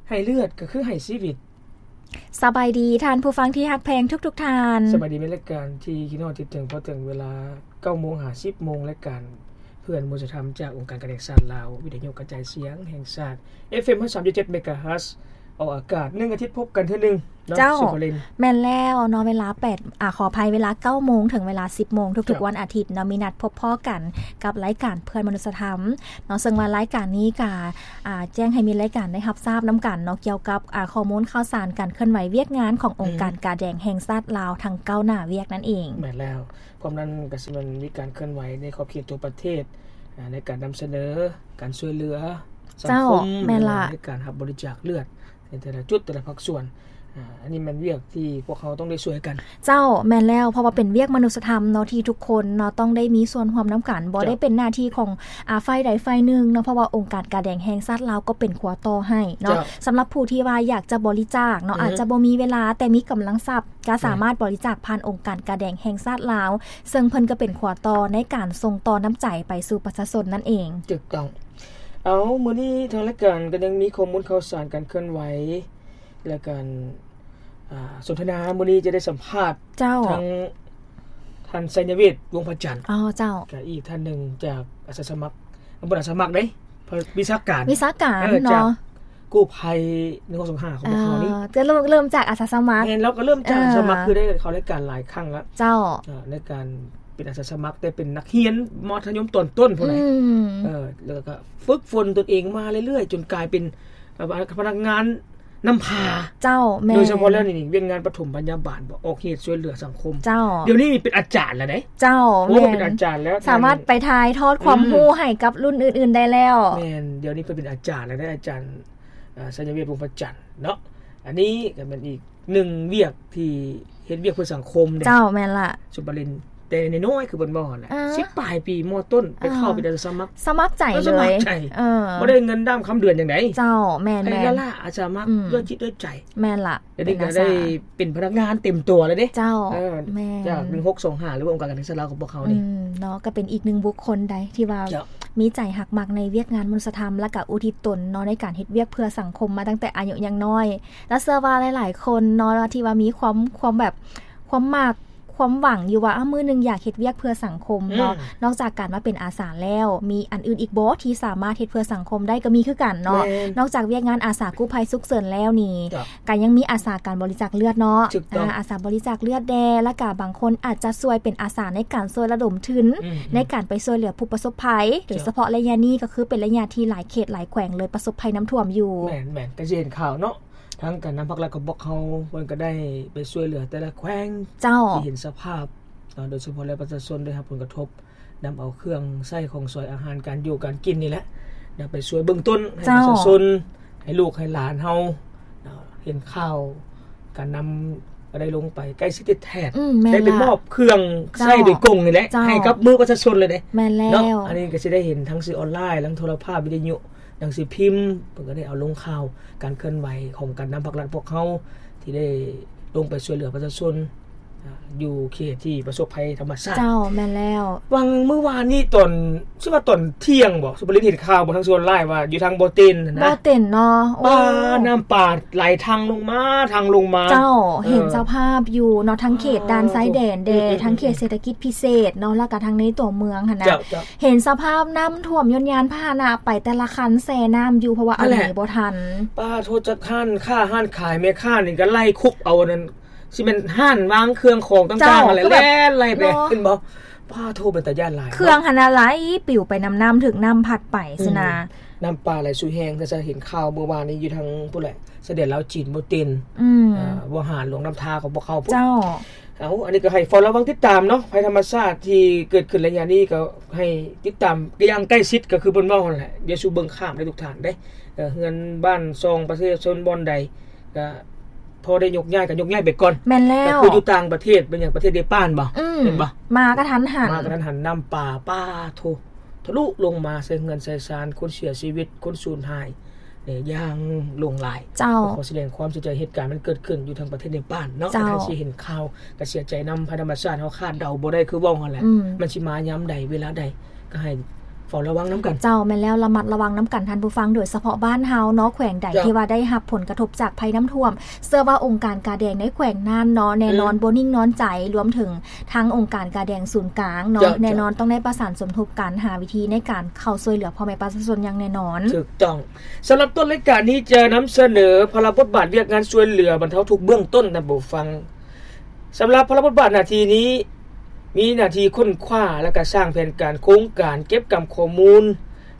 ໃຫ້ເລືອດກໍຄືໃຫ້ຊີວິດ. ສະບາຍດີທ່ານຜູ້ຟັງທີ່ຮັກແພງທຸກໆທ່ານ. ສະບາຍດີ ແມ່ນລາຍການທີ່ຄິດຮອດຄິດເຖິງ ພໍເຖິງເວລາເກົ້າໂມງຫາສິບໂມງ ລາຍການເພື່ອມະນຸດສະທຳ ຈາກອົງການການແຫ່ງຊາດລາວ ວິທະຍຸກະຈາຍສຽງແຫ່ງຊາດ ເອັຟເອັມ ຮ້ອຍສາມຈຸດເຈັດ ເມກາເຮີດ ອອກອາກາດ ໜຶ່ງອາທິດພົບກັນເທື່ອໜຶ່ງເນາະ ເຈົ້າ ສຸພາລິນ. ແມ່ນແລ້ວເນາະ ເວລາແປດ ອາ ຂໍອະໄພ ເວລາເກົ້າໂມງເຖິງເວລາສິບໂມງ ທຸກໆ ເຈົ້າ ວັນອາທິດເນາະ ມີນັດພົບພໍ້ກັນກັບລາຍການເພື່ອມະນຸດສະທຳເນາະ. ເຊິ່ງວ່າລາຍການນີ້ກະ ອາ ແຈ້ງໃຫ້ແມ່ນລາຍການໄດ້ຮັບຊາບນຳກັນເນາະ ກ່ຽວກັບ ອາ ຂໍ້ມູນຂ່າວສານການເຄື່ອນໄຫວວຽກງານຂອງອົງການ ອືມ ກາແດງແຫ່ງຊາດລາວ ທັງເກົ້າໜ້າວຽກນັ້ນເອງ. ແມ່ນແລ້ວ. ພ້ອມນັ້ນກໍຊິແມ່ນມີການເຄື່ອນໄຫວໃນຂອບເຂດທົ່ວປະເທດ ອາ ໃນການນຳສະເໜີການຊ່ວຍເຫຼືອສັງຄົມ ເຈົ້າ ແມ່ນລະ ໃນການຮັບບໍລິຈາກເລືອດໃນແຕ່ລະຈຸດ ແຕ່ລະພາກສ່ວນ. ອາ ອັນນີ້ແມ່ນວຽກທີ່ພວກເຮົາຕ້ອງໄດ້ຊ່ວຍກັນ. ເຈົ້າ ແມ່ນແລ້ວ ເພາະວ່າເປັນວຽກມະນຸດສະທຳເນາະ ທີ່ທຸກຄົນເນາະຕ້ອງໄດ້ມີສ່ວນຮ່ວມນຳກັນ ບໍ່ໄດ້ເປັນໜ້າທີ່ຂອງ ອາ ຝ່າຍໃດຝ່າຍໜຶ່ງເນາະ ເພາະວ່າອົງການກາແດງແຫ່ງຊາດລາວກໍເປັນຂົວຕໍ່ໃຫ້ເນາະ. ເຈົ້າ ສຳລັບຜູ້ທີ່ວ່າຢາກຈະບໍລິຈາກເນາະ ອືຮຶ ອາດຈະບໍ່ມີເວລາ ແຕ່ມີກຳລັງຊັບ ກໍສາມາດ ແມ່ນ ບໍລິຈາກຜ່ານອົງການກາແດງແຫ່ງຊາດລາວ ເຊິ່ງເພິ່ນກໍເປັນຂົວຕໍ່ໃນການສົ່ງຕໍ່ນ້ຳໃຈໄປສູ່ປະຊາຊົນນັ້ນເອງ. ຖືກຕ້ອງ. ເອົາ ມື້ນີ້ທາງລາຍການກໍຍັງມີຂໍ້ມູນຂ່າວສານການເຄື່ອນໄຫວ ແລະ ການ ອາ ສົນທະນາມື້ນີ້ຈະໄດ້ສຳພາດ ເຈົ້າ ທັງທ່ານ ໄຊຍະເວດ ວົງພະຈັນ. ອໍ ເຈົ້າ. ກະອີກທ່ານໜຶ່ງຈາກອາສາສະໝັກ ບໍ່ແມ່ນອາສາສະໝັກເດ້ ວິຊາການ ວິຊາການ ເອີ ເນາະ ຈາກກູ້ໄພ ໜຶ່ງຫົກສອງຫ້າ ຂອງພວກເຮົານີ້. ເອີ ຈະເລີ່ມ ເລີ່ມຈາກອາສາສະໝັກ. ແມ່ນ ລາວກໍເລີ່ມຈາກ ເອີ ອາສາສະໝັກ ຄືໄດ້ເຂົ້າລາຍການຫຼາຍຄັ້ງລະ. ເຈົ້າ. ເອີ ໃນການເປັນອາສາສະໝັກ ແຕ່ເປັນນັກຮຽນມໍທະຍົມຕອນຕົ້ນພຸ້ນແຫຼະ. ອືມ. ເອີ ແລ້ວກໍຝຶກຝົນຕົນເອງມາເລື້ອຍໆ ຈົນກາຍເປັນ ເອີ ພະນັກງານ ນຳພາ. ເຈົ້າ ແມ່ນ. ໂດຍສະເພາະແລ້ວນີ້ ວຽກງານປະຖົມພະຍາບານບໍ ອອກເຫດຊ່ວຍເຫຼືອສັງຄົມ. ເຈົ້າ. ດຽວນີ້ເປັນອາຈານແລ້ວເດ້. ເຈົ້າ. ໂອ້ ແມ່ນ ເປັນອາຈານແລ້ວ. ສາມາດໄປຖ່າຍທອດຄວາມ ອືມ ຮູ້ໃຫ້ກັບລຸ້ນອື່ນໆໄດ້ແລ້ວ. ແມ່ນ. ດຽວນີ້ເພິ່ນເປັນອາຈານແລ້ວເດ້ ອາຈານ ເອີ ໄຊຍະເວດ ວົງພະຈັນເນາະ. ອັນນີ້ກໍແມ່ນອີກ ໜຶ່ງວຽກທີ່ເຮັດວຽກເພື່ອສັງຄົມເດ້. ເຈົ້າ ແມ່ນລະ ສຸພາລິນ. ແຕ່ນ້ອຍໆ ຄືເພິ່ນເວົ້າຫັ້ນແຫຼະ ເອີ ສິບປາຍປີ ມໍຕົ້ນ ເອີ ໄປເຂົ້າເປັນອາສາສະໝັກ ສະໝັກໃຈເລີຍ ສະໝັກໃຈ. ເອີ ບໍ່ໄດ້ເງິນດຳຄຳເດືອນຫຍັງໃດ. ເຈົ້າ ແມ່ນໆ ໃຫ້ລ້າໆ ອາສາສະໝັກ ອືມ ດ້ວຍຈິດດ້ວຍໃຈ. ແມ່ນລະ. ດຽວນີ້ກໍໄດ້ເປັນພະນັກງານເຕັມຕົວແລ້ວເດ້. ເຈົ້າ. ເອີ ແມ່ນ. ຈາກໜຶ່ງຫົກສອງຫ້າ ຫຼືວ່າອົງການການສຶກສາລາວຂອງພວກເຮົານີ້ ອືມ ເນາະ ກໍເປັນອີກໜຶ່ງບຸກຄົນໃດທີ່ວ່າ ເຈົ້າ ມີໃຈຮັກມັກໃນວຽກງານມະນຸດສະທຳ ແລະ ກໍອຸທິດຕົນເນາະ ໃນການເຮັດວຽກເພື່ອສັງຄົມມາຕັ້ງແຕ່ອາຍຸຍັງນ້ອຍ. ລະເຊື່ອວ່າຫຼາຍໆຄົນເນາະ ທີ່ວ່າມີຄວາມ ຄວາມແບບ ຄວາມມັກ ຄວາມຫວັງຢູ່ວ່າ ເອົາ ມື້ໜຶ່ງຢາກເຮັດວຽກເພື່ອສັງຄົມເນາະ. ອືມ. ນອກຈາກການມາເປັນອາສາແລ້ວ ມີອັນອື່ນອີກບໍ່ທີ່ສາມາດເຮັດເພື່ອສັງຄົມໄດ້? ກໍມີຄືກັນເນາະ. ແມ່ນ. ນອກຈາກວຽກງານອາສາກູ້ໄພສຸກເສີນແລ້ວນີ້ ເຈົ້າ ກໍຍັງມີອາສາການບໍລິຈາກເລືອດເນາະ. ຖືກຕ້ອງ. ອາ ອາສາບໍລິຈາກເລືອດແດ່ ແລ້ວກໍບາງຄົນອາດຈະຊ່ວຍເປັນອາສາໃນການຊ່ວຍລະດົມທຶນ ອືມ ໃນການໄປຊ່ວຍເຫຼືອຜູ້ປະສົບໄພ ເຈົ້າ ໂດຍສະເພາະໄລຍະນີ້ກໍຄືເປັນໄລຍະທີ່ຫຼາຍເຂດຫຼາຍແຂວງເລີຍປະສົບໄພນ້ຳຖ້ວມຢູ່. ແມ່ນໆ ກໍຊິເຫັນຂ່າວເນາະ ທາງການນຳພັກລັດຂອງພວກເຮົາ ເພິ່ນກໍໄດ້ໄປຊ່ວຍເຫຼືອແຕ່ລະແຂວງ. ເຈົ້າ. ທີ່ເຫັນສະພາບເນາະ ໂດຍສະເພາະແລ້ວປະຊາຊົນໄດ້ຮັບຜົນກະທົບ ນຳເອົາເຄື່ອງໃຊ້ຂອງສອຍອາຫານການຢູ່ການກິນນີ້ແຫຼະ ນຳໄປຊ່ວຍເບື້ອງຕົ້ນໃຫ້ ເຈົ້າ ປະຊາຊົນ ໃຫ້ລູກໃຫ້ຫຼານເຮົາເນາະ ເຫັນຂ່າວການນຳ ກໍໄດ້ລົງໄປໃກ້ຊິດແທ້ໆ. ອືມ ແມ່ນ ໄດ້ໄປ ລະ ມອບເຄື່ອງໃຊ້ ເຈົ້າ ໂດຍກົງນີ້ແຫຼະ ເຈົ້າ ໃຫ້ກັບມືປະຊາຊົນເລີຍເດ້. ແມ່ນແລ້ວ. ເນາະ ອັນນີ້ກໍຊິໄດ້ເຫັນທັງສື່ອອນລາຍ ທັງໂທລະພາບ ວິທະຍຸ ໜັງສືພິມ ເພິ່ນກໍໄດ້ເອົາລົງຂ່າວການເຄື່ອນໄຫວຂອງການນຳພັກລັດພວກເຮົາ ທີ່ໄດ້ລົງໄປຊ່ວຍເຫຼືອປະຊາຊົນ ອາ ຢູ່ເຂດທີ່ປະສົບໄພທຳມະຊາດ. ເຈົ້າ ແມ່ນແລ້ວ. ຫວ່າງມື້ວານນີ້ຕອນ ຊິວ່າຕອນທ່ຽງບໍ ສຸພາລິນເຫັນຂ່າວບໍ ທາງສ່ວນຫຼາຍວ່າຢູ່ທາງບໍ່ເຕັນຫັ້ນນະ ບໍ່ເຕັນເນາະ. ໂອ້ ປາ ນ້ຳປາໄຫຼທັງລົງມາ ທັງລົງມາ. ເຈົ້າ. ເອີ ເຫັນສະພາບຢູ່ເນາະ ທາງເຂດ ອໍ ດ່ານຊາຍແດນແດ່ ອືມໆໆໆ ທາງເຂດເສດຖະກິດພິເສດເນາະ ແລ້ວກໍທາງໃນຕົວເມືອງຫັ້ນນະ. ເຈົ້າໆ. ເຫັນສະພາບນ້ຳຖ້ວມ ຍົນຍານພາຫະນະໄປແຕ່ລະຄັນແຊ່ນ້ຳຢູ່ ເພາະວ່າ ນັ້ນແຫຼະ ອຳນວຍບໍ່ທັນ. ປາໂທ ຈັກຮ້ານຄ້າຮ້ານຂາຍ ແມ່ຄ້ານີ້ກໍໄລ່ຄຸບເອົາອັນນັ້ນ ຊິແມ່ນຮ້ານວາງເຄື່ອງຂອງຕ່າງໆ ເຈົ້າ ຫັ້ນແຫຼະ ກໍແບບ ແລ່ນໄລ່ໄປ ເນາະ ເຫັນບໍ່? ປາໂທ ເປັນຕາຢ້ານຫຼາຍ. ເຄື່ອງຫັ້ນນະໄຫຼປິວໄປນຳນ້ຳ ຖືກນ້ຳພັດໄປ ອືມ ຊີ້ນະ. ນ້ຳປ່າໄຫຼສູ່ແຮງ ຄືຈະເຫັນຂ່າວເມື່ອວານນີ້ຢູ່ທາງພຸ້ນແຫຼະ ຊາຍແດນລາວຈີນ ບໍ່ເຕັນ ອືມ ເອີ ວໍຫານ ຫຼວງນ້ຳທາຂອງພວກເຮົາພຸ້ນ. ເຈົ້າ. ເອົາ ອັນນີ້ກໍໃຫ້ເຝົ້າລະວັງຕິດຕາມເນາະ ໄພທຳມະຊາດທີ່ເກີດຂຶ້ນໄລຍະນີ້ ກໍໃຫ້ຕິດຕາມຢ່າງໃກ້ຊິດ ກໍຄືເພິ່ນເວົ້າຫັ້ນແຫຼະ ຢ່າສູ່ເບິ່ງຂ້າມເດ້ທຸກທ່ານເດ້. ເອີ ເຮືອນບ້ານຊ່ອງປະຊາຊົນບ່ອນໃດ ກໍພໍໄດ້ຍົກຍ້າຍກໍຍົກຍ້າຍໄປກ່ອນ. ແມ່ນແລ້ວ. ກໍຄືຢູ່ຕ່າງປະເທດ ເປັນຫຍັງປະເທດເນປານບໍ? ອືມ ເຫັນບໍ່? ມາກະທັນຫັນ ມາກະທັນຫັນ ນ້ຳປ່າ ປາໂທ ທະລຸລົງມາໃສ່ເຮືອນໃສ່ຊານ ຄົນເສຍຊີວິດ ຄົນສູນຫາຍ ເອີ ຢ່າງຫຼວງຫຼາຍ. ເຈົ້າ. ກໍຂໍສະແດງຄວາມເສຍໃຈ ເຫດການມັນເກີດຂຶ້ນຢູ່ທາງປະເທດເນປານເນາະ. ເຈົ້າ. ກໍຖ້າຊິເຫັນຂ່າວກໍເສຍໃຈນຳ ໄພທຳມະຊາດເຮົາຄາດເດົາບໍ່ໄດ້ ຄືເວົ້າຫັ້ນແຫຼະ ອືມ ມັນຊິມາຍາມໃດ ເວລາໃດ ກໍໃຫ້ ເຝົ້າລະວັງນຳກັນ. ເຈົ້າ ແມ່ນແລ້ວ ລະມັດລະວັງນຳກັນທ່ານຜູ້ຟັງ ໂດຍສະເພາະບ້ານເຮົາເນາະ ແຂວງໃດທີ່ວ່າໄດ້ຮັບຜົນກະທົບຈາກໄພນ້ຳຖ້ວມ ເຊື່ອວ່າອົງການກາແດງໃນແຂວງນັ້ນເນາະ ແນ່ນອນ ອືມ ບໍ່ນິ່ງນອນໃຈ ລວມເຖິງທາງອົງການກາແດງສູນກາງເນາະ ເຈົ້າ ແນ່ນອນ ເຈົ້າ ຕ້ອງໄດ້ປະສານສົມທົບກັນ ຫາວິທີໃນການເຂົ້າຊ່ວຍເຫຼືອພໍ່ແມ່ປະຊາຊົນຢ່າງແນ່ນອນ. ຖືກຕ້ອງ. ສຳລັບຕົ້ນລາຍການນີ້ຈະນຳສະເໜີພາລະບົດບາດວຽກງານຊ່ວຍເຫຼືອບັນເທົາທຸກເບື້ອງຕົ້ນ ທ່ານຜູ້ຟັງ. ສຳລັບພາລະບົດບາດໜ້າທີ່ນີ້ ມີໜ້າທີ່ຄົ້ນຄວ້າ ແລະ ກະສ້າງແຜນການໂຄງການເກັບກຳຂໍ້ມູນ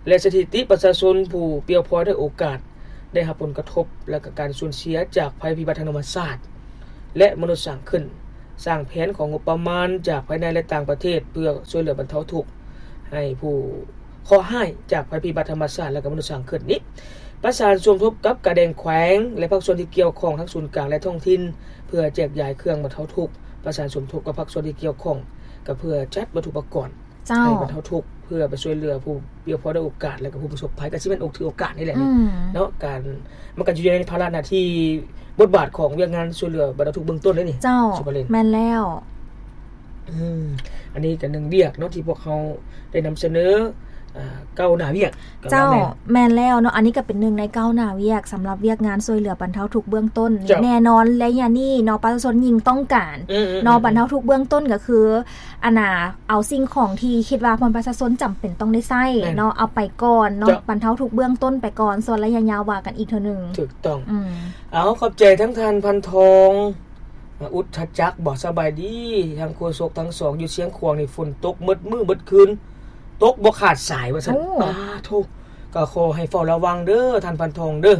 ແລະ ສະຖິຕິປະຊາຊົນຜູ້ປ່ຽວພອຍດ້ວຍໂອກາດໄດ້ຮັບຜົນກະທົບ ແລະ ກະການສູນເສຍຈາກໄພພິບັດທາງທຳມະຊາດ ແລະ ມະນຸດສ້າງຂຶ້ນ, ສ້າງແຜນຂອງງົບປະມານຈາກພາຍໃນ ແລະ ຕ່າງປະເທດ ເພື່ອຊ່ວຍເຫຼືອບັນເທົາທຸກໃຫ້ຜູ້ເຄາະຮ້າຍຈາກໄພພິບັດທຳມະຊາດ ແລະ ກະມະນຸດສ້າງຂຶ້ນນີ້ ປະສານສົມທົບກັບກາແດງແຂວງ ແລະ ພາກສ່ວນທີ່ກ່ຽວຂ້ອງທັງສູນກາງ ແລະ ທ້ອງຖິ່ນ ເພື່ອແຈກຢາຍເຄື່ອງບັນເທົາທຸກ, ປະສານສົມທົບກັບພາກສ່ວນທີ່ກ່ຽວຂ້ອງ ກໍເພື່ອຈັດວັດຖຸປະກອນ ເຈົ້າ ໃຫ້ບັນເທົາທຸກ ເພື່ອໄປຊ່ວຍເຫຼືອຜູ້ປ່ຽວພອຍດ້ວຍໂອກາດ ແລະ ກໍຜູ້ປະສົບໄພ ກໍຊິແມ່ນໂອກຖືໂອກາດນີ້ແຫຼະ ອືມ ເນາະ ການ ມັນກໍຢູ່ໃນພາລະໜ້າທີ່ ບົດບາດຂອງວຽກງານຊ່ວຍເຫຼືອບັນເທົາທຸກເບື້ອງຕົ້ນເດ້ນີ້ ເຈົ້າ ສຸພາລິນ ແມ່ນແລ້ວ. ອືມ ອັນນີ້ກໍໜຶ່ງວຽກເນາະ ທີ່ພວກເຮົາໄດ້ນຳສະເໜີ ອ່າ ກ້າວໜ້າວຽກ ເຈົ້າ ແມ່ນແລ້ວເນາະ ອັນນີ້ກໍເປັນໜຶ່ງໃນກ້າວໜ້າວຽກ ສຳລັບວຽກງານຊ່ວຍເຫຼືອບັນເທົາທຸກເບື້ອງຕົ້ນນີ້ ເຈົ້າ ແນ່ນອນ ໄລຍະນີ້ເນາະ ປະຊາຊົນຍິ່ງຕ້ອງການ ອືມໆໆ ເນາະ ບັນເທົາທຸກເບື້ອງຕົ້ນກໍຄື ອັນນ່າ ເອົາສິ່ງຂອງທີ່ຄິດວ່າພໍ່ແມ່ປະຊາຊົນຈຳເປັນຕ້ອງໄດ້ໃຊ້ ແມ່ນ ເນາະ ເອົາໄປກ່ອນເນາະ ເຈົ້າ ບັນເທົາທຸກເບື້ອງຕົ້ນໄປກ່ອນ ສ່ວນໄລຍະຍາວວ່າກັນອີກເທື່ອໜຶ່ງ. ຖືກຕ້ອງ ອືມ ເອົາ ຂອບໃຈທັງທ່ານ ພັນທອງ ອາ ອຸດທະຈັກບໍ ສະບາຍດີ ທາງໂຄສົກທັງສອງ ຢູ່ຊຽງຂວາງນີ້ຝົນຕົກໝົດມື້ໝົດຄືນ ຕົກບໍ່ຂາດສາຍວ່າຊັ້ນ. ໂອ້ ປາໂທ້ ກໍຂໍໃຫ້ເຝົ້າລະວັງເດີທ່ານ ພັນທອງເດີ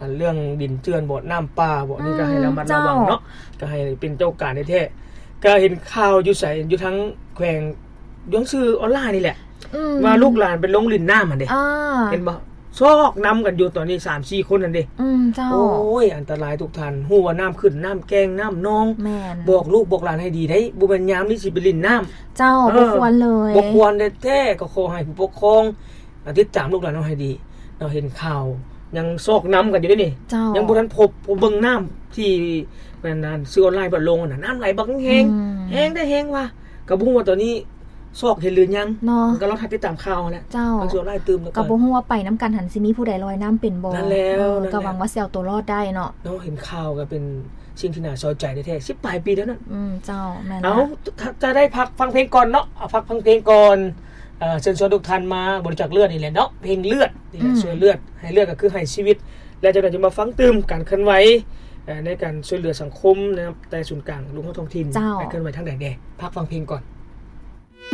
ອັນເລື່ອງດິນເຈື່ອນບໍ ນ້ຳປ່າບໍ ນີ້ກໍໃຫ້ລະມັດລະວັງເນາະ ເຈົ້າ ກໍໃຫ້ເປັນເຈົ້າການແທ້ໆ. ກໍເຫັນຂ່າວຢູ່ໃສ ຢູ່ທາງແຂວງ ຢູ່ທາງສື່ອອນລາຍນີ້ແຫຼະ ອືມ ວ່າລູກຫຼານໄປລົງຫຼິ້ນນ້ຳຫັ້ນເດ້ ອ່າ ເຫັນບໍ່ ຊອກນຳກັນຢູ່ຕອນນີ້ ສາມສີ່ຄົນຫັ້ນເດ້. ອືມ ເຈົ້າ ໂອ້ຍ ອັນຕະລາຍທຸກທ່ານ ຮູ້ວ່ານ້ຳຂຶ້ນ ນ້ຳແກ້ງ ນ້ຳໜອງ ແມ່ນ ບອກລູກບອກຫຼານໃຫ້ດີໄດ໋ ບໍ່ແມ່ນຍາມນີ້ຊິໄປຫຼິ້ນນ້ຳ ເຈົ້າ ເອີ ບໍ່ຄວນເລີຍ ບໍ່ຄວນແທ້ໆ. ກໍຂໍໃຫ້ຜູ້ປົກຄອງ ອາ ຕິດຕາມລູກຫຼານເຮົາໃຫ້ດີເນາະ ເຫັນຂ່າວຍັງຊອກນຳກັນຢູ່ເດ້ນີ້ ເຈົ້າ ຍັງບໍ່ທັນພົບ ບໍ່ເບິ່ງນ້ຳທີ່ ແມ່ນ ອັນ ສື່ອອນລາຍເພິ່ນລົງຫັ້ນນະ ນ້ຳໄຫຼບັກແຮງ ອືມ ແຮງໄດ້ແຮງວ່າ ກໍບໍ່ຮູ້ວ່າຕອນນີ້ຊອກເຫັນຫຼືຍັງເນາະ ກໍລອງຖ້າຕິດຕາມຂ່າວຫັ້ນແຫຼະ ເຈົ້າ ທາງສ່ວນຫຼາຍຕື່ມ ກໍບໍ່ຮູ້ວ່າໄປນຳກັນຫັ້ນຊິມີຜູ້ໃດລອຍນ້ຳເປັນບໍ່ ນັ້ນແລ້ວ ເອີ ນັ້ນແຫຼະ ກໍຫວັງວ່າຊິເອົາຕົວລອດໄດ້ເນາະ ເນາະ ເຫັນຂ່າວກໍເປັນສິ່ງທີ່ໜ້າເສົ້າໃຈແທ້ໆ ສິບປາຍປີແລ້ວນັ້ນ ອືມ ເຈົ້າ ແມ່ນ ເອົາ ລະ ຈະໄດ້ພັກຟັງເພງກ່ອນເນາະ ເອົາ ພັກຟັງເພງກ່ອນ ເອີ ເຊີນຊວນທຸກທ່ານມາບໍລິຈາກເລືອດນີ້ແຫຼະເນາະ ເພງເລືອດນີ້ແຫຼະ ອືມ ຊ່ວຍເລືອດ ໃຫ້ເລືອດກໍຄືໃຫ້ຊີວິດ ແລ້ວຈາກນັ້ນຈະມາຟັງຕື່ມການເຄື່ອນໄຫວ ເອີ ໃນການຊ່ວຍເຫຼືອສັງຄົມນະ ແຕ່ສູນກາງລົງຮອດທ້ອງຖິ່ນ ເຈົ້າ ໄປເຄື່ອນໄຫວທາງໃດແດ່ ພັກຟັງເພງກ່ອນ.